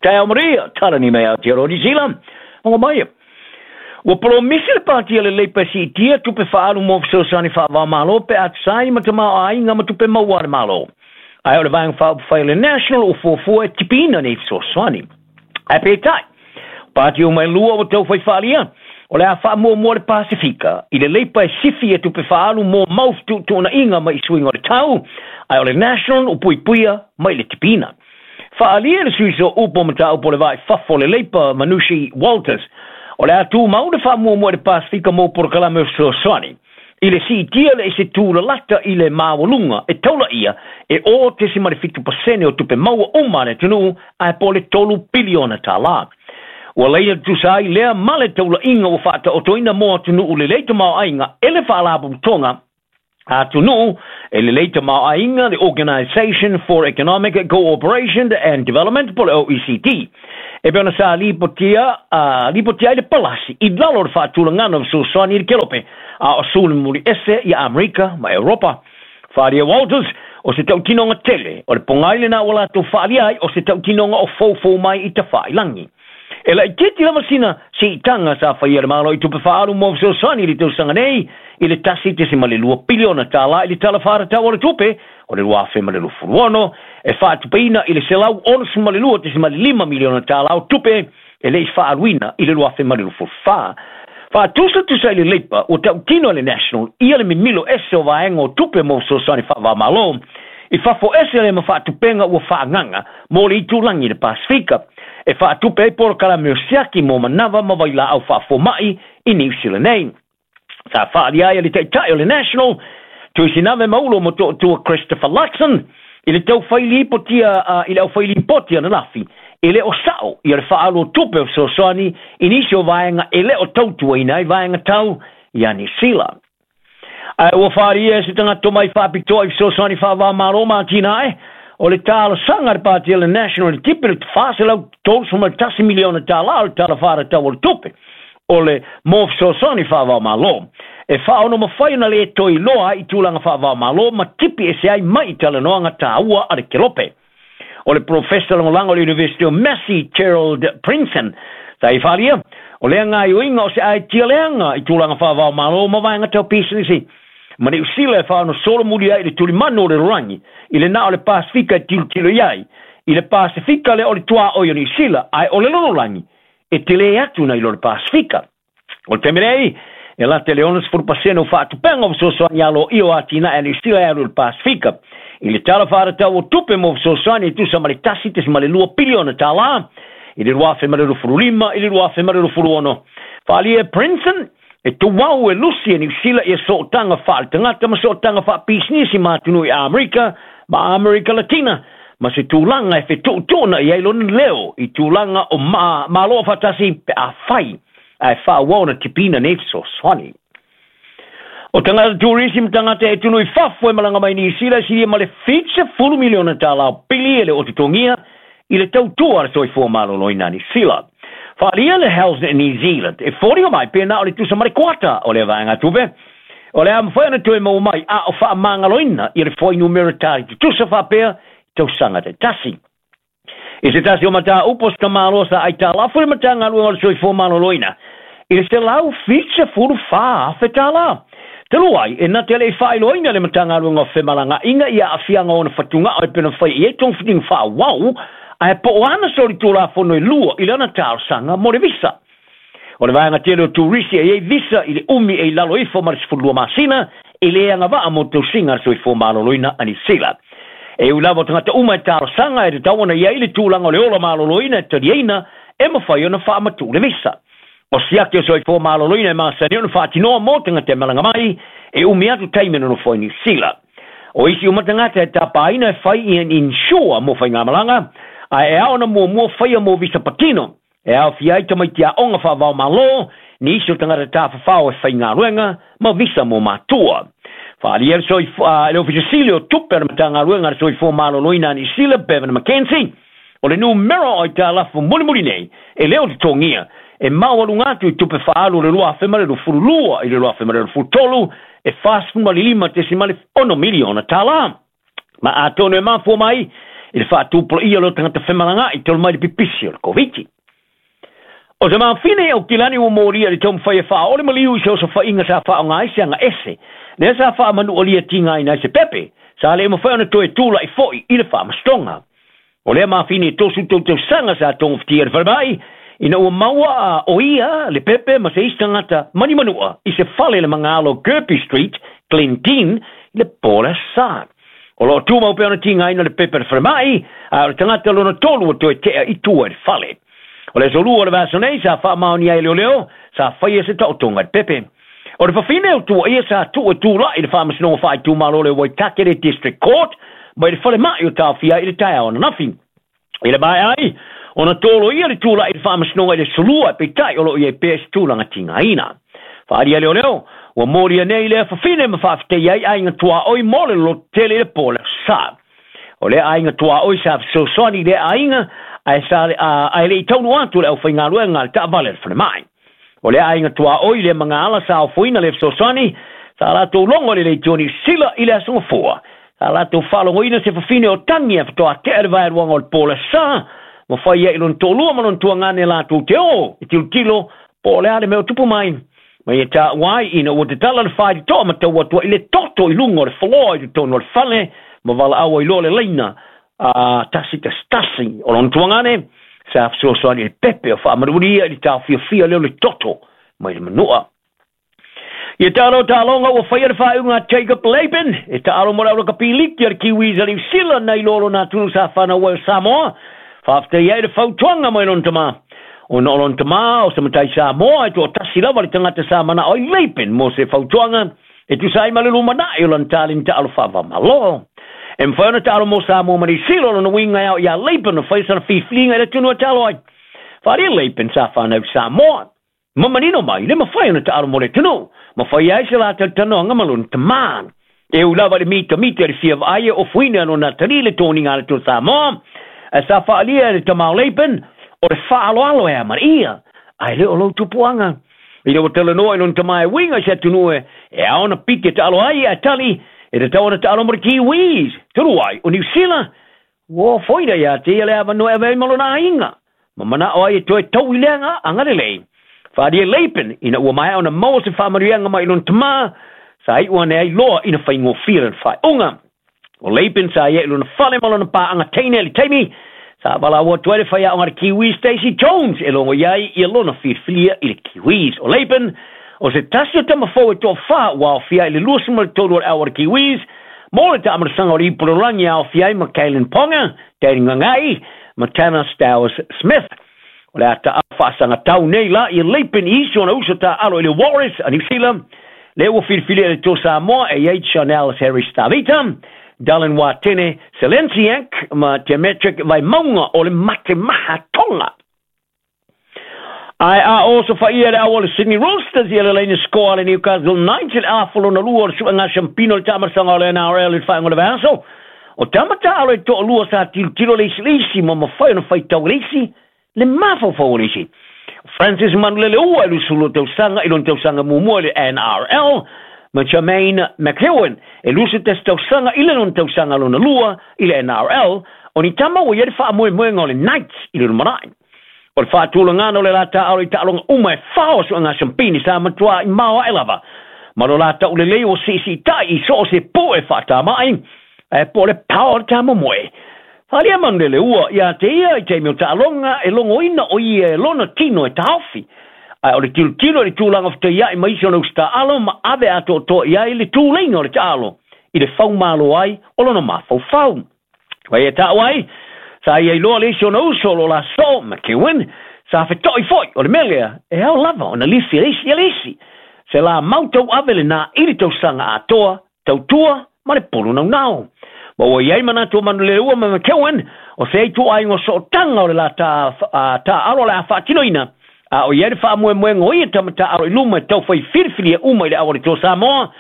Taeao maria, talani mai Aotearoa Niu Sila. Mago mai. Ua polomisi le pāti a le Leipa e siitia tupe faaalu mo fesoasoani faava-o-Malo pe a tusa ai ma tamaoaiga ma tupe maua a le Malo. Ae o le Vaega Faaupufai a le National ua fuafua e tipiina nei fesoasoani. Ae peitai, o pāti uma e lua ua taufai faaalia, o le a faamuamua le Pasefika i le Leipa e sifi ia tupe faaalu mo mau fetuutuunaiga mai i suiga o le tau, ae o le National ua puipuia mai le tipiina. Faaalia e le sui sooupu o mataupu o le va i fafo o le Leipa, Manushi Walters, o le a tumau le faamuamua i le Pasefika mo polokalame o fesoasoani i le siitia le ese tūlalata i le maualuga e taulaia e 0.7% o tupe maua uma a le atunuu ae po o le $3 piliona. Ua laina tutusa ai lea ma le taulaiga ua faataotoina mo atunuu lelei tamaoaiga e le Faalapotopotoga a Atunuu e Lelei Tamaoaiga, le Organisation for Economic Co-operation and Development po o le OECD, e pei ona sa lipotia ai le palasi i lalo o le faatulagana o fesoasoani i le Kelope a o sulumuli ese i Amerika ma Europa. Faaalia Walters, o se tautinoga tele o le pogai lena ua latou faaalia ai o se tautinoga o foufou mai i tafailangi. E laitiiti lava sina siitaga sa faia e le Malo i tupe faaalu mo fesoasoani i le tausaga nei i le $1.2 piliona i le Tala Faatatau o le Tupe o le 2026, e faatupeina i le $162.5 miliona o tupe e le i faaaluina i le 2024. Faatusatusa i le Leipa ua tautino e le National ia le mimilo ese o vaega o tupe mo fesoasoani faava-o-Malo i fafo ese lea ma faatupega ua faaagaga mo le itulagi i le Pasefika e faatupe ai polokalame o siaki mo manava ma vailaau faafomai i Niu Sila nei. Sa faaalia ai e le taitai o le National, Tuisinave Maulo Motootua Christopher Luxon, i le taufai lipotia i le aufai lipoti ananafi, e le o sao ia le faaalu o tupe o fesoasoani i nisi o vaega e le o tautuaina ai vaega tau ia Niu Sila. Ae ua faaalia e se tagata tomai faapitoa i fesoasoani faava-o-Malo ma atinae, o le talosaga a le Pāti a le National i le tipi le $431 miliona o le Tala Faatatau o le Tupe o le mo fesoasoani faava-o-Malo, e faaono mafai ona le toe iloa ai i tulaga faava-o-Malo ma tipi ese ai mai i talanoaga taua a le Kelope. O le Profesa lagolago o le University o Massey, Gerald Prinsen, sa i faaalia, o lea gaoioiga o se aitia leaga i tulaga faava-o-Malo ma vaega tau pisinisi ma Niu Sila e faaonosolomuli ai i le tulimanu o le lalolagi i le na o le Pasefika e tilotilo i ai i le Pasefika lea o le tuaoi o Niu Sila, ae o le lalolagi e tele atu nai lo le Pasefika. O le taimi nei, e lata i le 60% o faatupega o fesoasoani aloaia o atinae a Niu Sila e alu i le Pasefika. I le Tala Faatatau o Tupe mo fesoasoani e tusa ma le $1.2 piliona i le 2025 i le 2026. Faaalia e Princeton, e tuau e lusi e Niu Sila ia sootaga faaletagata ma sootaga faapisinisi ma atunuu i Amerika ma Amerika Latina, ma se tulaga e fetuutuunai i ai lona leo i tulaga o Malo Afaatasi pe afai ae faaauau ona tipiina nei fesoasoani. O tagata turisi ma tagata e atunuu i fafo e malaga mai Niu Sila e silia ma le $70 miliona o pili e le o totogia i le tautua a le soifua maloloina a Niu Sila. Faaalia le Health New Zealand e foliga mai pe na o le tusa ma le kuata o lea vaega tupe o le a mafai ona toe maua mai a o faamagaloina ia le fuainumera tali tutusa faapea i tausaga taitasi. I se tasi o mataupu o se tamaloa sa aitalafu i le Matagaluega o le Soifua Maloloina i le $174,000. Talu ai, e na te le i faailoaina le Matagaluega o Femalagaaiga i aafiaga o ona fatugao e pei ona faia i ai togafitiga faaauau, ae po o ana solitulafono e lua i lana talosaga mo le visa. O le vaega tele o turisi e i ai visa i le umi e i lalo ifo ma le 12 masina, e le agavaa mo tausiga a le soifua maloloina a Niu Sila. E ui lava o tagata uma e talosaga e tatau ona i ai le tulaga o le ola maloloina e taliaina e mafai ona faamatuu le visa. O siaki o soifua maloloina e masani ona faatinoa mo tagata e malaga mai e umi atu taimi e nonofo ai Niu Sila. O isi uma tagata e tapaina e fai i an insure mo faigamalaga, ae e ao ona muamua faia mo visa patino, e aofia ai tamaiti aoga faava-o-Malo, nisi o tagata tafafao e faigaluega, ma visa mo matua. Faaalia le Ofisa Sili o Tupe a le Matagaluega a le Soifua Maloloina a Niu Sila, Bevan McKenzie, o le numera o aitalafu mulimuli nei e le o totogia e maualuga atu i tupe faaalu o le 2022 i le 2023 e $45.6 miliona. Ma atonu e mafua mai I le faatupulaia o leo tagata femalagaai talu mai le pipisi o le Koviti. O se mafine Aukilani ua molia i le taumafai e faaoo le maliu i se osofaiga sa faaaoga ai se agaese lea sa faamanualia tigaina ai se pepe sa le mafai ona toe tula'i fo'i i le faamasinoga. O lea mafine e 33 tausaga sa togafitia i le falemai ina ua maua o ia le pepe ma se isi tagata manimanu'a i se fale i le magalo o Kirby Street, Glendene, i le po o le Aso Sa. O loo tumau pea ona tigaina le pepe i le falemai, ae o le tagata lona tolu ua toe tea i tua i le fale. O le aso lua o le vaiaso nei sa faamaonia ai e leoleo sa faia se taotoga i le pepe. O le fafine o tuaia sa tuu e tula'i i le faamasinoga faaitumalo le Waitakere District Court mai le falemai o taofia ai i le taeao ananafi. I le maea ai ona toloia le tula'i i le faamasinoga i le aso lua, peitai o loo i ai pea i se tulaga tigaina. Faaalia leoleo ua molia nei lea fafine ma faafetaia ai aiga tuaoi mo le lototele i le po o le Aso Sa. O lea aiga tuaoi sa fesoasoani i lea aiga ae sa ae le i taunuu atu le aufaigaluega a le taavale a le falemai. O lea aiga tuaoi lea magaala sa ofoina le fesoasoani sa latou logo i le leitio Niu Sila i le Aso Gafua. Sa latou faalogoina se fafine o tagi a faatoa tea le vaeluaga o le po o le Aso Sa ma fai ai i lona toalua ma lona tuagane latou te o e tilotilo po o le a le mea o tupu mai. Ma ia taua ai ina ua tatala le faitotoa ma tau atu ai le toto i luga o le foloa i totonu o le fale ma valaau ai loa le laina a 111. O lona tuagane sa fesoasoani i le pepe o faamanualia i le taofiofia lea o le toto mai le manua. Ia taalo taaloga ua faia le faaiuga a Jacob Laban e taalo mo le aulakapi liki a le Kiwis a Niu Sila nai loa lona atunuu sa fanau ai o Samoa. Faafetai ai le fautuaga mai lona tama. Ona o lona tama o se matai Samoa e toatasi lava le tagata sa manao ai Laban mo se fautuaga e tusa ai ma le lumanai o lana taleni taalo faavamalo. E mafai ona taalo mo Samoa ma Niu Sila. O lona uiga e ao iā Laban ona fai sana filifiliga i le atunuu e taalo ai. Faaalia Laban sa fanau i Samoa. Ma manino mai, le mafai ona taalo mo le atunuu, ma fai ai se la talatalanoaga ma lona tamā. E ui lava i le mitamita i le fia vaai e ofoina lona atalii le toniga a le Atua Samoa, ae sa faaalia e le tama o Laban, o le faaaloalo e amanaia, ae le o lou tupuaga. Ina ua talanoa i lona tama e uiga i se atunuu e ao ona piki e taalo ai, ae tali, e tatau ona taalo mo le Kiwis, talu ai o Niu Sila, ua ofoina ia te ia le avanoa e ave ai ma lona aiga, ma manao ai e toe tau i lea agalelei. Faaalia Laban ina ua maea ona maua se faamanuiaga mai i lona tama, sa iu ane ai loa ina faigofie lana faaiuga. O Laban sa ia i lona fale ma lona paaga teine i le taimi sa valaau atu ai le faiaoga a le Kiwis Stacey Jones e logo i ai ia lona filifilia i le Kiwis. O Laban o se tasi o tamafou e toafa ua aofia ai i le 23 o le au a le Kiwis mo le taamalasaga o le ipu lalolagi e aofia ai ma Kalyn Ponga, Danny Gagai ma Tanner Stowers-Smith. O le a taao faasagatau nei la ia Laban i isi ona uso taaalo i le Warriors a Niu Sila, lea ua filifilia e le Toa Samoa e i ai Chanel Harris Tavita, Dallin Watene Selenciak ma Demetric Vaimauga o le Matemaha Tonga. Ae a osofaia le au o le Sydney Roosters ia le laina score a le Newcastle Knights i le afa lona lua o le suega siampino i le taamalasaga o le NRL i le faaiuga o le vaiaso. O tama taaalo e toalua sa tilotilo le isi le isi ma mafai ona faitau e le isi le mafaufau o le isi. Francis Manuleleua e 22 tausaga i lona tausaga muamua i le NRL, ma Jermaine McEwen e 21 tausaga i le lona tausaga lona lua i le NRL, o ni tama ua i ai le faamoemoega o le Knights i le lumanai. O le faatulagana o le la taaalo i taaloga uma e fa o suega siampini sa matuā i mao ae lava, ma lo la taulelei ua siisiitai i so o se po'e faatamai, ae po o le pao o le tamomoe. Faaalia Manuleleua ia te ia i taimi o taaloga e logoina o ia e lona tino e taofi, ae o le tilotilo i le tulaga fetaia'i ma isi ona usitaalo ma ave atoatoa i ai le tuleiga o le taalo i le faumalo ai o lona mafaufau. Mai e taua ai, sa ia iloa le isi ona uso o lo la soo, McEwen, sa feto'i fo'i, o le mea lea, e ao lava ona lifi e le isi ia le isi. Se la mau tauave lenā i le tausaga atoa, tautua ma le pulu naunau. Ma ua i ai manatu o Manuleleua ma McEwen, o se ituaiga o sootaga o le la taaalo o le a faatinoina, a o i ai le faamoemoega o ia tama taaalo i luma e taufai filifilia uma i le au a le Toa Samoa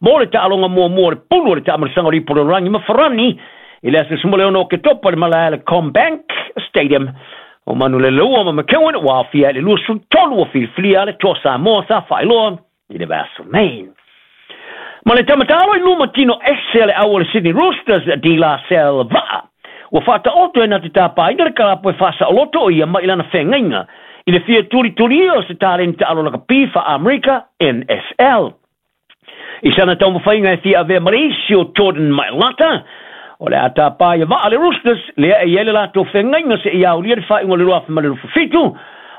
mo le taaloga muamua o le pulu o le taamalasaga o le ipu lalolagi ma Farani i le aso 16 o Oketopa i le malae a le CommBank Stadium. O Manuleleua ma McEwen ua aofia ai le 23 o filifilia a le Toa Samoa sa faailoa i le vaiaso nei. Ma le tama taalo i luma tino ese a le au o le Sydney Roosters, De La Salle Va'a, Ua faataoto e na te tapaina le kalapu e faasaoloto o ia mai lana feagaiga i le fia tulitulia o se taleni taalo lakapi faa-Amerika NFL. I sana taumafaiga e fia avea ma le isi o Jordan Mailata, o le a tapa ia vaa le Roosters lea e i ai le latou feagaiga seia aulia le faaiuga o le 2027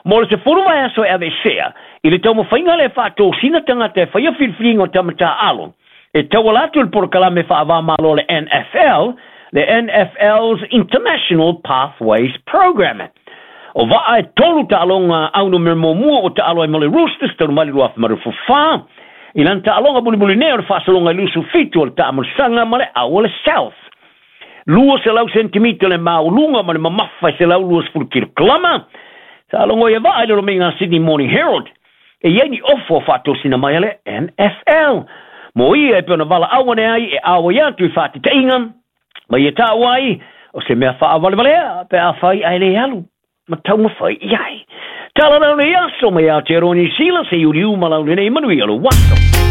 mo le 10 vaiaso e aveesea i le taumafaiga lea e faatosina tagata e faia filifiliga o tama taaalo e tauala atu i le polokalame faava-o-Malo le NFL, le NFL's International Pathways Program. O Vaa e 3 taaloga aunumera muamua ua taalo ai mo le Roosters talu mai le 2024 i lana taaloga mulimuli nei o le faasologa i 27 o le taamolisaga ma le au o le South. 200 sentimita le maualuga ma le mamafa e 120 kilokalama. Sa logo ia Vaa i le lomaiga Sydney Morning Herald e i ai ni ofo faatosina mai a le NFL mo ia e pei ona valaau ane ai e auai atu i faatitaiga ma ia taua ai o se mea faavalevalea pe afai ae le alu ma taumafai i ai. Tala lau nei aso mai Aotearoa Niu Sila, se iuliu ma lau lenei manuia lou aso.